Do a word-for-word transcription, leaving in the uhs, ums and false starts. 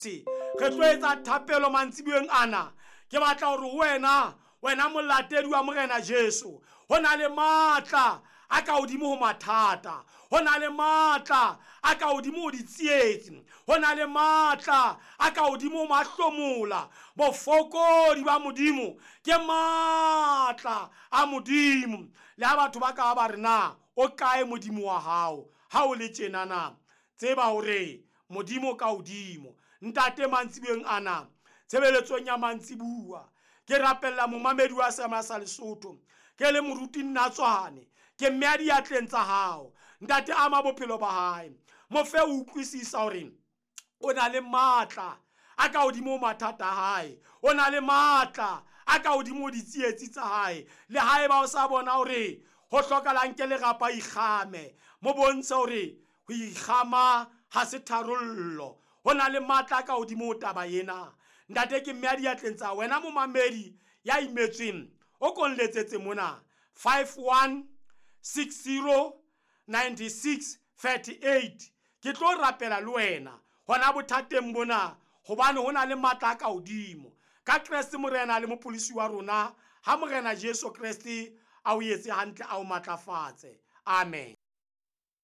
Re tlo etsa thapelo mantsibueng ana. Ke batla hore wena, wena molatedi wa Morena Jesu, ho na le matla a ka hodimo ho mathata, ho na le matla a ka hodimo ho ditsietsi, ho na le matla a ka hodimo ho mahlomola. Bofokodi ba Modimo ke matla a Modimo. Le ha batho ba ka ba re na o kae Modimo wa hao ha o le tjena na, tseba hore Modimo ka hodimo. Ntate, mantsibueng ana, tshebeletsong ya mantsibua, ke rapella momamedi wa Seema sa Lesotho, ke le moruti Nnatswane, ke mme a diatleng tsa hao. Ntate, ama bophelo ba hae, mo fe o utlwisisa hore o na le matla a ka hodimo ho mathata a hae, o na le matla a ka hodimo ho ditsietsi tsa hae. Le haeba o sa bona hore ho hlokahalang ke lerapa, ikgame, mo bontshe hore ho ikgama ha se tharollo, ho na le matla a ka hodimo ho taba ena. Ntate, ke mme a diatleng tsa wena momamedi ya imetsweng, o ko nletsetse mona five one six zero ninety six thirty eight. Ke tlo rapela le wena hona bothateng bona, hobane ho na le matla a ka hodimo. Ka Kreste Morena le Mopholosi wa rona, ha Morena Jesu Kreste a o etse hantle, a o matlafatse. Amen.